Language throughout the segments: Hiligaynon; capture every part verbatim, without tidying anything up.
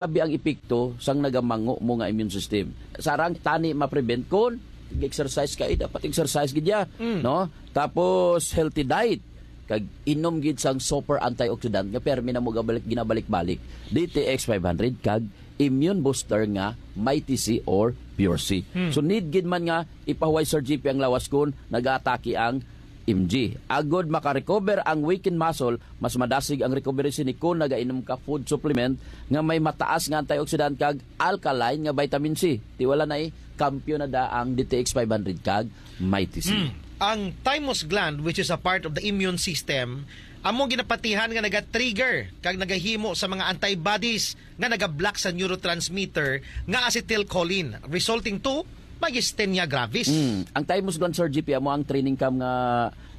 grabe ang epekto sang nagamango mo nga immune system. Sarang tani ma-prevent kon exercise ka, eh, dapat exercise gid ya, Mm. no? Tapos healthy diet, kag inom gid sang super antioxidant nga permi na mo gabalik, ginabalik-balik, D T X five hundred kag immune booster nga Mighty C or Pure C. Hmm. So need gid man nga ipahuway, Sir G P, ang lawas kon nagaatake ang M G. Agod makarecover ang weakened muscle, mas madasig ang recovery sini kon nagainom ka food supplement nga may mataas nga antioxidant kag alkaline nga vitamin C. Ti wala na, eh, kampiyon na da ang D T X five hundred kag Mighty C. Hmm. Ang thymus gland, which is a part of the immune system, amo ginapatihan nga naga-trigger kag nagahimo sa mga antibodies nga naga-block sa neurotransmitter nga acetylcholine, resulting to myasthenia gravis. Mm. Ang thymus gland, Sir G P, amo ang training camp nga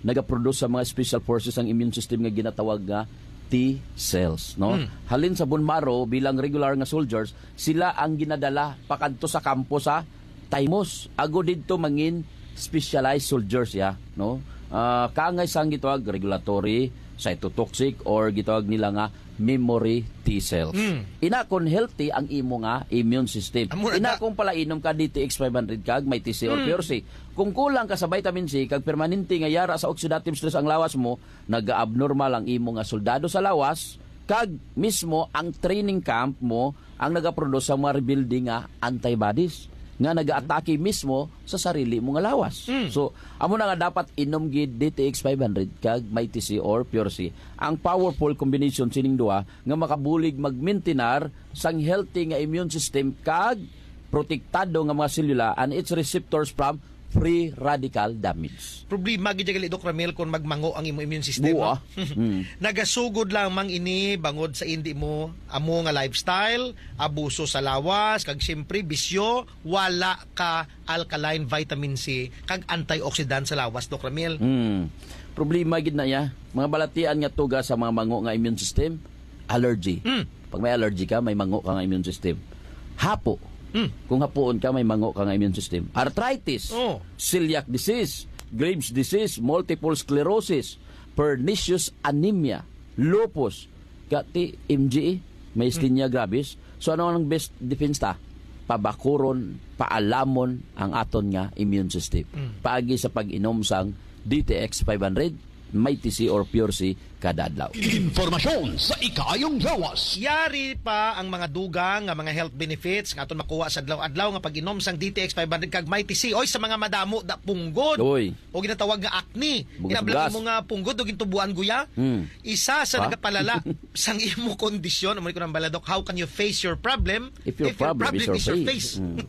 nagaproduce sa mga special forces ang immune system nga ginatawag nga T cells, no? Mm. Halin sa bone marrow bilang regular nga soldiers, sila ang ginadala pakadto sa kampo sa thymus. Ago didto mangin specialized soldiers ya, no? Ah, kaangay sang gitawag regulatory, cytotoxic, or gitawag nila nga memory T cells. Mm. Ina kon healthy ang imo nga immune system. Amo na Ina da- kung pala inom ka D T X five hundred kag Mighty C or Mm. Pure C. Kung kulang ka sa vitamin C kag permanente nga yara sa oxidative stress ang lawas mo, naga-abnormal ang imo nga soldado sa lawas, kag mismo ang training camp mo ang nagaproduce sa mga rebuilding nga antibodies nga nagaatake mismo sa sarili mo nga lawas. Mm. So, amo na nga dapat inom gid D T X five hundred kag Mighty C or Pure C. Ang powerful combination sining duha nga makabulig magmintinar sang healthy nga immune system kag protektado nga mga selula and its receptors from free radical damage. Problema gid gali, Doc Ramil, kung magmango ang imo immune system, Buwa. no? Mm. Nagasugod lamang ini bangod sa indi mo amo nga lifestyle, abuso sa lawas, kag siyempre bisyo, wala ka alkaline vitamin C kag antioxidant sa lawas, Doc Ramil. Mm. Problema gid na ya. Mga balatian nga tuga sa mga mango nga immune system, allergy. Mm. Pag may allergy ka, may mango ka nga immune system. Hapo. Mm. Kung hapuon ka, may mango ka nga immune system. Arthritis, Oh. celiac disease, Graves disease, multiple sclerosis, pernicious anemia, lupus, kati M G E, myasthenia gravis. So, ano ang best defense ta? Pabakuron, paalamon ang aton nga immune system. Mm. Paagi sa pag-inom sang D T X five hundred, Mighty C or Pure C kada adlaw. Impormasyon sa ikaayong lawas. Yari pa ang mga dugang nga mga health benefits nga aton makuha sa adlaw-adlaw nga pag-inom sang D T X five hundred kag Mighty C. Oy, sa mga madamo da punggod. Oy. O ginatawag nga acne. Bugas-bugas. Kinabla mo nga punggod o gintubuan guya. Hmm. Isa sa Ha? nagapalala sang imo kondisyon, amo ni ko nang bala, Doc, how can you face your problem If your problem is your face. Mm.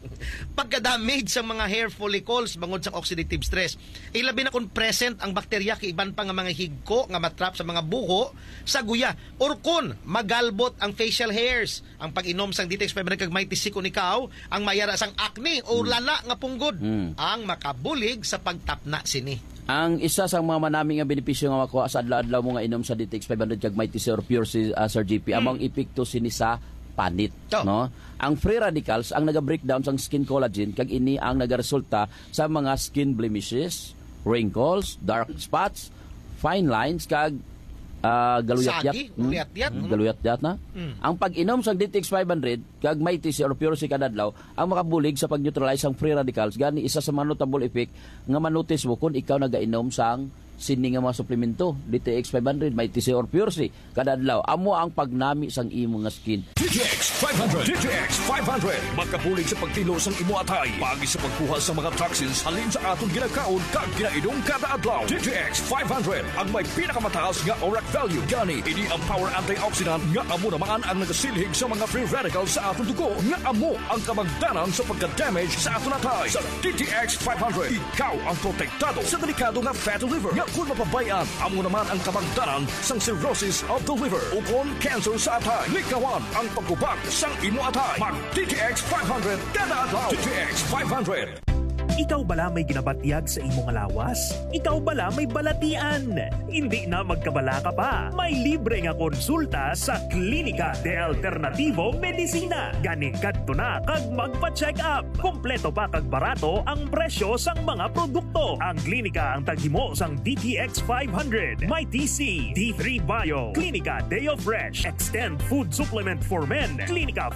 Pagka-damage sa mga hair follicles bangod sa oxidative stress. Ilabi na kung present ang bakterya kay iban pa nga mga higko nga matrap sa mga buho sa guya. Or kun magalbot ang facial hairs, ang pag-inom sang D T X five hundred kag Mighty C, kun ikaw ang mayara sang acne o Mm. lala nga punggod, Mm. ang makabulig sa pagtapna sini. Ang isa sa mga manami nga benepisyo nga makuha sa adlaw-adlaw mo nga inom sa D T X five hundred kag Mighty C or Pure C, ah, Sir G P, Mm. amo ang epekto sini sa panit, To. no? Ang free radicals ang naga-breakdown sang skin collagen, kag ini ang nagaresulta sa mga skin blemishes, wrinkles, dark spots, fine lines, kag, ah, galuyat-yat. Sagi, Mm. galuyat-yat, Mm, no? galuyat-yat na. Mm. Ang pag-inom sang D T X five hundred kag Mighty C or Pure C kada adlaw ang makabulig sa pag-neutralize sang free radicals. Gani, isa sa mga notable effect nga manotice mo kung ikaw nagainom sang sini nga mga suplemento, D T X five hundred, Mighty C or Pure C, kada adlaw. Amo ang pagnami sang imo nga skin. D T X five hundred. D T X five hundred. Makabulig sa pagtilo sang imo atay, paagi sa pagkuha sa mga toxins halin sa aton ginakaon kag ginainom kada adlaw. D T X five hundred ang may pinakamataas nga ORAC value. Gani, ini ang power antioxidant nga amo naman ang nagasilhig sa mga free radicals sa aton dugo nga amo ang kabangdanan sa pagka-damage sa aton atay. Sa D T X five hundred, ikaw ang protektado sa delikado nga fatty liver nga kung mapabay-an, amo naman ang kabangdanan sang cirrhosis of the liver ukon cancer sa atay. Likawan ang pagkubag sang imo atay. Mag D T X five hundred kada adlaw. D T X five hundred. Ikaw bala may ginabatyag sa imo nga lawas? Ikaw bala may balatian? Hindi na magkabalaka pa. May libre nga konsulta sa Klinika de Alternativo Medicina. Gani kadto na kag magpa-check up. Kompleto pa kag barato ang presyo sang mga produkto. Ang klinika ang taghimo sang D T X five hundred, may T C, D three Bio, Klinika Deo Fresh, Extend Food Supplement for Men, Klinika